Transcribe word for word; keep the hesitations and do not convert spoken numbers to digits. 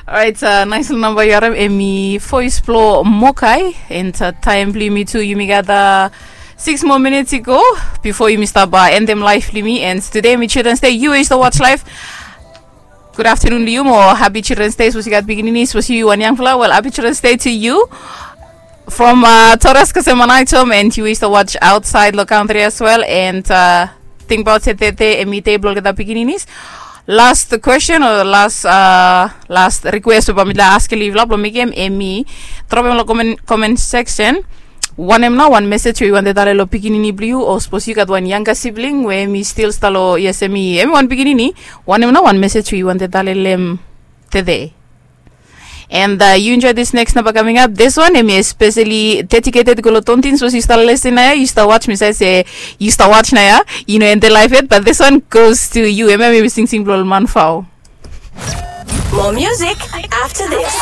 Orait, nais long namba yu harim em i voes blong Mokai. And taem blong yumi tu, yumi gat six moa minits i go bifo yumi stap endem laef blong yumi. And tude em i Children's Day, yu we yu stap watch laef, gud aftanun long yu mo hapi Children's Day. Sapos yu gat pikinini, sapos yu wan yangfala, wel, hapi Children's Day to yu. From Torres kasem manaitom, and yu we yu stap watch aotsaed long kantri as wel. And tingbaot se tede em i dei blong olgeta pikininis. Last question o last, last request we bae mi laik askem long yufala blong mekem, em i dropem long comment section. Wanem nao wan mesej we yu wantem talem long pikinini blong yu, o sapos yu gat wan yanga sibling we em i stil stap long, yes, em i em i wan pikinini. Wanem nao wan mesej we yu wantem talem long em tede? And yu enjoy this next namba coming up. This one em i especially dedicated go long Tontin. Sapos yu stap lesen nao ya, yu stap watch, mi save se yu stap watch nao ya, yu no endem laef yet, but this one goes to you. Em ya mi singsing blong ol manfao. More music after this.